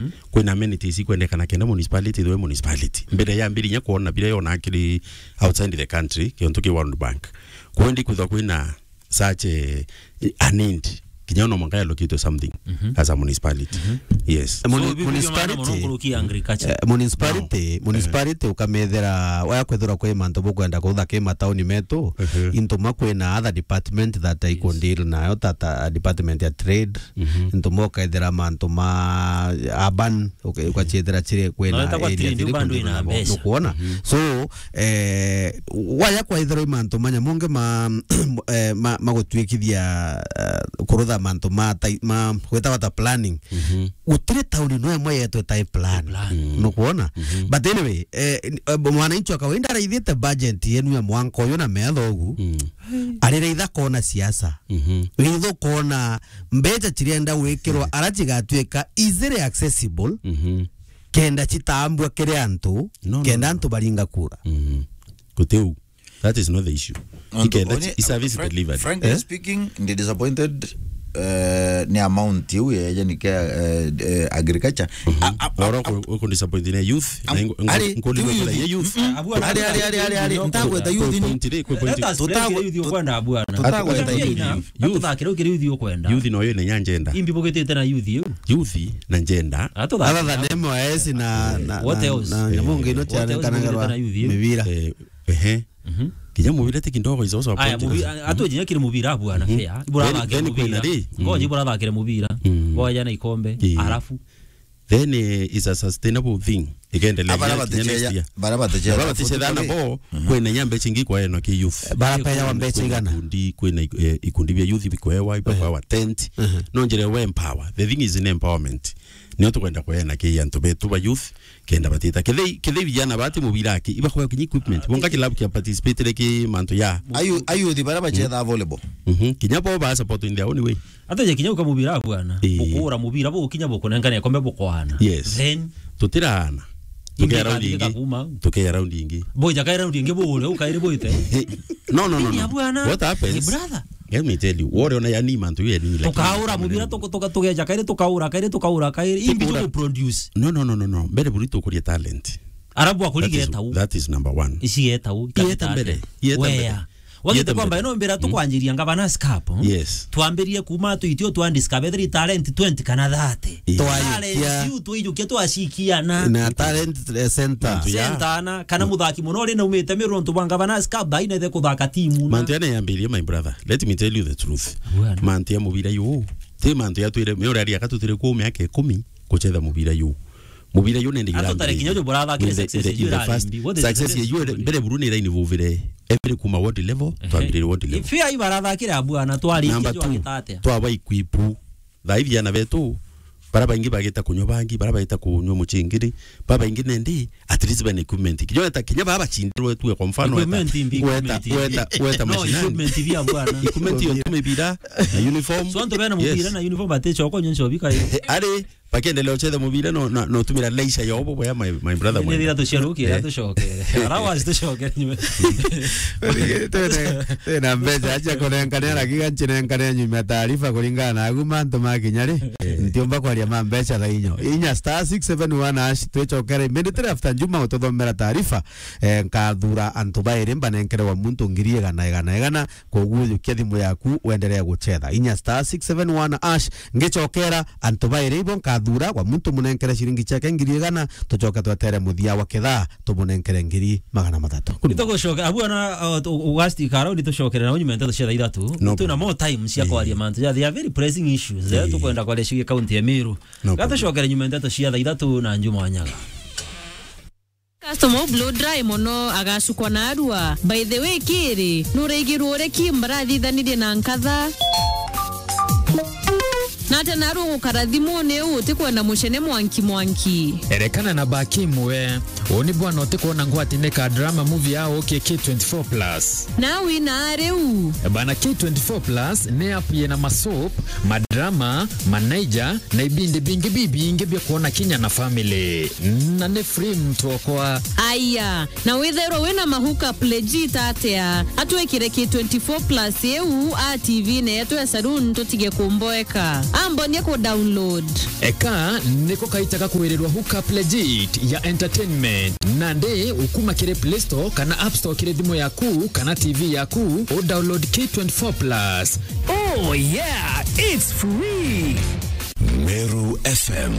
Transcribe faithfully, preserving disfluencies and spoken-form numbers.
Mm. Kwina amenities ikwendekana kenda municipality ithwe municipality. Mbere ya mbere inya kwona bira yona kiri outside the country, kiontu ki World Bank. Kwendi kwithwa kwina such a, a need. Kinya no mwanka allocate something Mhm. as a municipality. Mhm. Yes. So, Muni-, bi-, bi-, municipality, maana mono nkuruki agriculture. Eh, municipality, No. municipality ukamethera, waya kwethira kwi mantu bukwenda kuthaka matauni metu, Mhm. into ma kwina other department that I Yes. could deal nayo, ta, ta department ya trade, Mhm. into ma ukethira mantu ma urban, uke-, ukachiethera chiri kwina No, ita kwa area trade, thiri bado kundi ina nabo. Mbeca. Nukwona? Mhm. So, eh, waya kwaithirwa i mantu manya monge ma, eh, ma, magutwikithia, eh, kurutha mantu ma tai-, ma gwita bata planning. Mhm. Gutiri tauni no imwe yetwe tai plan. Plan. Mm. Nukwona? Mhm. But anyway, eh, n-, eh, mwananchi wa kawaida araithite budget yenu ya mwanka uyu na metha ugu. Mm. Ariraitha kona siasa. Mhm. Ritho kona mbeca chirienda gwikirwa ara chigatuika easily accessible, Mhm. kenda chitambua kiri antu, No, no, kenda no. antu baringa kura. Mhm. Gutiu. That is not the issue. Nontu Ikenda onye, chi-, i service frank-, delivery. Frankly Eh? speaking, ndi disappointed, eh, ni amount iu ya, yani, kia, eh, eh, agriculture. Mhm. A, a, a, Oro a, ku-, ku disappoint ni youth, am-, na ingo-, ingo-, ari, nkundi tiu gukura youth. Ye youth. Mm-mm. Abu Ari, ari, ari, ari, ari, ntagweta youth ni. Point ri, ku point. Let us break Tutagwe-, youth tu-, ukwenda, bwana. Tutagweta Ati-, youth. Ati-, Youth. Atuthaakire ukiri youth ukwenda. Youth no yo ni ya njenda. Imbi bugitite na youth iu. Youth na njenda. Atuthaakire. Other than M Y S na, na, What na, else? na nyamu ngi no What else ciarekanagirwa bugitite na youth iu? Mibira. Eh, ehe. Mhm. Kinya mubira ti kindogo is also a Aya, point. Mubi-, a-, atujenya kiri mubira abu ana Mhm. fair. Ibura Then, athakire then mubira. Kwina ri? Ngoji Mhm. ibura athakire mubira. Mm. Boya na ikombe. Ii. Alafu Then, eh, it's a sustainable thing. Ikendelea Abara kinya, kinya batecheya, next year. Bara batecheya Bara bateche thana bo, Mhm. kwina inya mbecha ingi kwaenwa ki youth. Bara peya wa mbecha Kwina igana? ikundi, kwina ik-, eh, ikundi bia youth bikwewa, ibakwewa tent. Mhm. No njira we empower. The thing is in empowerment. Nio tukwenda kweana ki antu betu ba youth, kenda batita. Kethei, kethei vijana bati mubira aki, ibakwea kinya equipment. Bonga kilabu kia participate ki mantu ya. Ayu, ayuthi bara bachetha volleyball. Mhm. Kinya bo ba support in their own way. Ata je kinya ukamubira bwana. Ii. Bukura mubira bukinya bukunengane kombe bukwana. Yes. Then Tutiraana. Ingi Tukea round ikandika ingi. Kuma. Tukea round ingi. Boja kai round ingi bure ukaire bwite. No, no, no, Ni no. Bwana. What happens? Ni brother. Let me tell you, wore ona yani mantu ye ni, like, Tukaura mubira tuku-, tuka-, tugeja kairi tukaura kairi tukaura kairi. Imbi Tukaura. Tuku produce. No, no, no, no, no. Mbere buri tukuria talent. Arabu That is, akurigetau. That is number one. Ici getau. Ieta mbere. Ieta mbere. Wea. Wagite Ieta kwamba mbere. Ino mbira Mm. tukwanjiria Governors Cup. Yes. Twambirie kuma tuitio twa discover talent twenty kana thirty. Yes. Twaijukia. Talent iu twaijukia twacikiana. Na talent, eh, center. Mantu ya. Center ana, kana muthaki muno ri naumite miru ntu bwa Governors Cup, thaina ithe kuthaka timu na. Mantu ya neyambirie, my brother. Let me tell you the truth. Bwana. Mantu ya mubira yu. Ti mantu ya twire, mi uraria ka tutire ku miaka ikumi kuchetha mubira yu. Mubira yu nende Ato tare kinya urambirie. Uju burathakire In the, success in the, yu in the irarimbi. First What is success success yu, in the mbere buru ni line vuvire. Every kuma ward level, Ehe. Twambirire ward level. Ifi ai barathakire abu ana twarikia Number two, twagita atia? Twaba equip. Thaa ithi ana betu, bara baingi bagita kunywa bangi, bara bagita kunywa muchingiri, bara baingi nendi, at least bena equipment. Kinya ta kinya baba bachindirwe tuwe kwa mfano weta, Equipment imbi, weta, equipment imbi. Weta, weta No, mashinani. Equipment bia bwana. Equipment yo tumibira, na uniform. So antu bena mubira Yes. na uniform ate choko nyoncho bika. Ari, Bakiendelea uchethe mubira no, no, no tumira leisure yobo boya my, my brother Ni mwenda. Thira tuciaruke, Eh. Tucokere. Arawa tucokere nyuma. Twina, twina mbeca acha kunenkania, lakini nchinenkania nyuma taarifa kulingana na agu mantu makinya ri. Eh. Ntiumba kwaria ma mbeca thaa inyo. Inya star six seven one hash twicokere immediately after Juma ututhomera taarifa. Eh, nkathura antu bairi mbanenkere wa muntu ngiri igana, igana, igana. Koguo yukia thimu yaku, wendelee guchetha. Inya star six seven one hash, ngicokera antu bairi ibo nkathura, wa muntu munenkere ciringi ciake ngiri igana, tucoke twetere muthia wa kithaa, tumunenkere ngiri magana mathatu. Nitugucoka, abu ana, uh, tu-, ugasti karau, nitucokere na unyume nteto cia thaa ithatu. No Twina problem. More time cia Eh. kwaria mantu. Yeah, they are very pressing issues, eh, Eh. tukwenda kwaria cigie kaunti ya Meru. No problem. Gatucokere nyuma nteto cia thaa ithatu na Juma Wanyaga. Customer u blow dry mono agacukwa na arua. By the way, kiri, nuraigirwe uria Kim barathithanirie na nkatha? Nate narua gukara thimuni u utikwenda mucene mwanki mwanki? Erekana na ba Kim we. Uu ni bwana utikwona ngwati ni ka drama movie ya ukie K twenty-four plus. Na wina riu. Bana, K twenty-four plus ni app yina masoap, madrama, manaija, na ibindi bingi bibingi bia kwona kinya na family. Na ni free mtu okwa. Aya, na withairwa wina mahuka legit atia? Atwikire K twenty-four plus iu a T V netu ya saloon tutige kumboeka. A Mbonie ku download. Eka niko kaitaga kwirirwa Hookup Legit ya entertainment. Nandi ukuma kiri Play Store kana App Store kiri thimu yaku kana T V yaku, u download K twenty-four plus. Oh yeah, it's free. Meru F M.